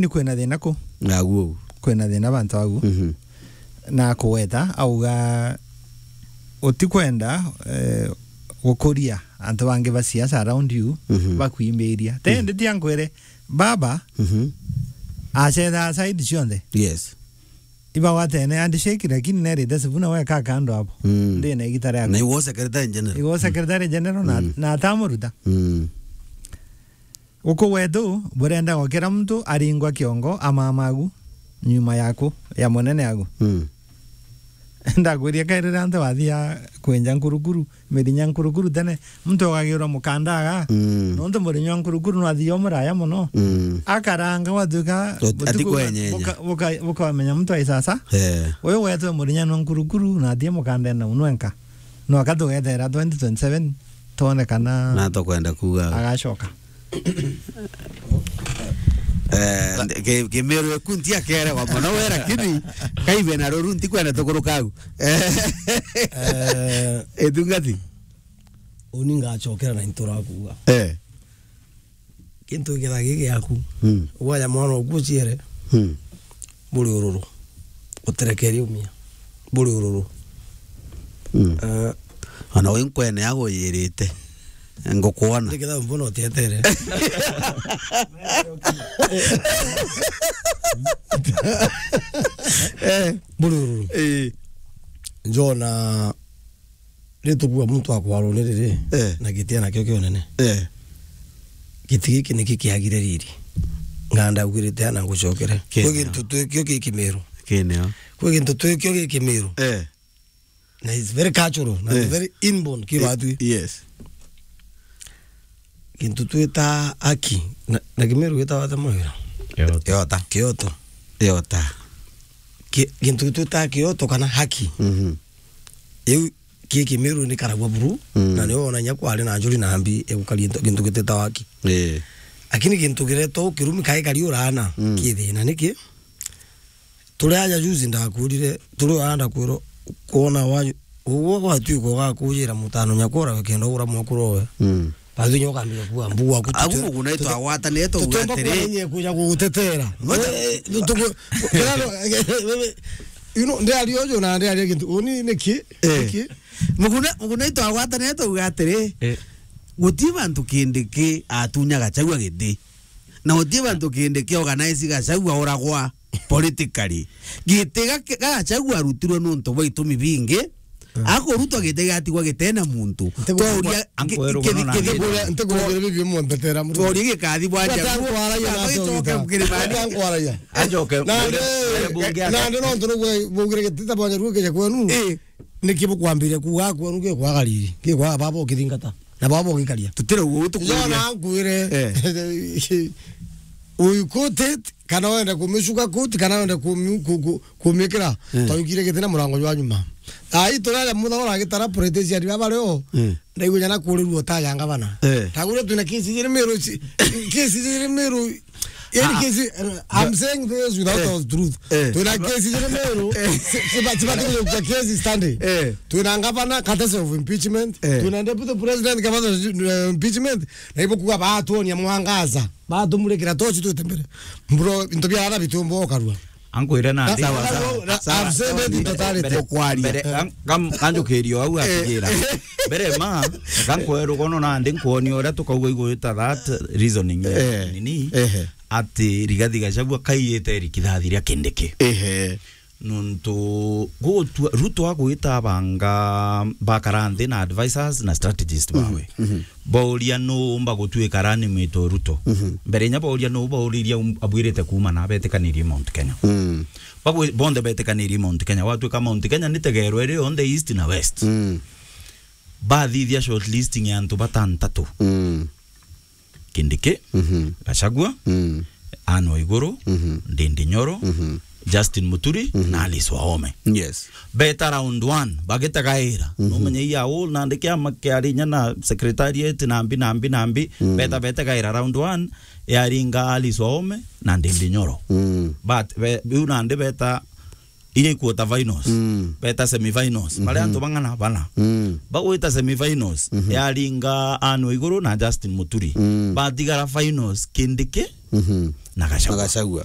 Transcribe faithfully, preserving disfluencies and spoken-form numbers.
Ni kwina thina ku? Agu au. Kwina thina bantu agu. Mhm. Na kugweta, auga, utikwenda, eh, gukuria antu bangi ba siasa around you, mhm, bakwimbiria. Te, mhm, ndi tia nkwire, baba, mhm, acethaa side cionthe. Yes. Ibagwatene handshake, lakini nerite Sifuna weka kando hapo. Mm. Ndi na igita riaku. Na iwe Secretary General. Iwe Secretary General na, mm, na atamuruta. Mm. Guku gwetu, burenda kira muntu aringwa kiongo amamagu nyuma yaku, ya munene agu. Mm. Ndakwiria kairira antu wathia kwenja nkurukuru, mirinya nkurukuru tene, muntu agagiurwa mukanda aga, mm, nontu murinya wa nkurukuru nwathia umuraya muno. Mm. Akaranga gwatuika ati butuku kwenyenya. Buka-, buka-, bukamenya muntu aisasa. Eh. Uyu gwetu murinya nwa nkurukuru, nathia mukandene unwenka. No akatugethera twenty twenty-seven, twone kana na tukwenda kuuga agacoka. Eh, ki-, Kimiru eku ntiakeregwa mono we, lakini kaibe na ruru ntikwenda tukuruka au. Eh, itungati. Uni ngacokera na ntura kuuga. Eh. Kintu giketha gi giaku. Mm. Ugwaya mwana oku uciere. Mm. Buri ururu. Uterekerie umia. Buri ururu. Mm. Eh. Ona wi nkwene aguyirite. Ngukwona. Ndiketha mbona utietere. Eh. Buri ururu. Eh. Njona Ritukua muntu akwarwo ni riri, eh, na giti anakio kia unene. Eh. Giti giki niki kiagire riri. Nganda ugirite ana ngucokere. Kwi gintu twikio gi Kimiru. Kineo. Kwi gintu twikio gi Kimiru. Eh. Na it's very cultural, na, eh, it's very inborn ki, eh, batwi. Yes. Gintu twita haki, na, na Kimiru gitagwa ata mawira? Kioto. Kioto. Kioto. Kioto. Ki-, gintu twita kioto kana haki. Mhm. Iu ki Kimiru ni karagwa buru, mm, na nio wona inya kwari na njuri na mbi igukaria into-, gintu gitita haki. Eh. Lakini gintu kiretwa ukirumi kai kari urana, mm, ki thina niki? Turi aja juzi ndakurire, turi aja ndakwirwo, kwona wa, uguo gwatuika ugakujira mutano nyakura wikenda ugura mwakuru owe. Mm. Basi nyo ukambira kuwa mbu waku. Agu tute-, mugu naitwa tute-, agwatanire tuga tutomba atiri. Kumenye kuja gugutetera. Ngoja. Eh, tuku-, kirano, wewe, you know, ndi ari uju na ndi ari gintu. Uni niki? Eh. Niki? Mugu na, mugu naitwa agwatanire tuga atiri. Eh. Guti bantu kindi ki atunya Gachagua giti. Na guti bantu kindi ki organize Gachagua uragwa. Politically. Giti ga-, ga Gachagua arutirwe nontu bwa itumi bingi. Mm. Akurutwa giti gatigwa gitena muntu. Ntigu-, twauria, ntigu-, ki-, ntigu-, ki-, ntigu-, ntigu-, ntigu-, bibi munthetera muntu. Twauria gikathi bwa Njagu, nkwaragia na gicoke mukirimani. Nkwaragia. Ajoke, na mbere, nde-, mbere bunge na aka- nde nontu nugwe bugire gitita bwa Njagu kija kwenu. Eh. Niki bukwambiria kuuga kwenu gikwaga riri, gikwaga baba ukithingata, na baba ugikaria? Tutire uguo tukuria. Jona nkwire. Eh. Uyu kuti Kana wenda kumicuga koti, kana wenda kumi-, ku-, ku-, kumikira, eh, twaikire giti na murango jwa nyuma. Ai, turare mutha uragitara politician baba rio, eh, ndaigua jana kurirua ta ya ngavana. Eh. Tagure twina kesi jiri Meru ci-, kesi jiri Meru, yani, ah, kesi, eh, I'm saying this without, eh, all truth. Eh. Twina kesi jiri Meru, eh, si-, siba-, sibati kujukia kesi stand. Eh. Twina ngavana, courtesy of impeachment. Eh. Twina deputy president, courtesy of, eh, impeachment. Na ibo kuga batuonia mwangaza. Batumurikira tochi twite mbere. Bro, into bia ara bitumbo ukarua. Ankwire na, na, sawa, na, sawa, na, sawa, I've said it in totality. Mbere, mbere, mbere, kam-, kam-, kanjukirio au, eh, atigira. Mbere ma, kankwe rugono na ndi nkuonia uria tukauga igwita that reasoning, eh, nini, eh, ati Rigathi Gachagua kaiyite rikithathi ria Kindiki. Ehe. Nontu gutua, Ruto agwita abanga bakara nthi na advisors na strategist bawe. Mhm, mhm. Bauria nu umba gutuika running mate o Ruto. Mhm. Mbere inya bauria nu, bauririe um-, abwirite kuuma na betikanirie Mount Kenya. Mm. Bagwi-, bonthe betikanirie Mount Kenya. Watuika Mount Kenya ni tegerwe iri yonthe east na west. Mm. Bathithia shortlisting ya antu batantatu. Mm. Kindiki, mhm, Gachagua, mm, Anne Waiguru, mhm, Ndindi Nyoro, mhm, Justin Muturi, mhm, na Alice Wahome. Yes. Beta round one, bagitagaira. Mhm. Numenye iya uu, nandi kiama kiari inya na secretariat, na mbi, na mbi, na mbi. Mm. Beta, betagaira round one, yaringa Alice Wahome na Ndindi Nyoro. Mm. But, be-, biu nandi beta iria i quarter finals, mm, beta semi finals, mhm, baria antu bang'ana bana. Mm. Bagwita semi finals, mhm, yaringa Anne Waiguru na Justin Muturi. Mm. Batigara finals, Kindiki, Mhm. Na Gachagua. Na Gachagua.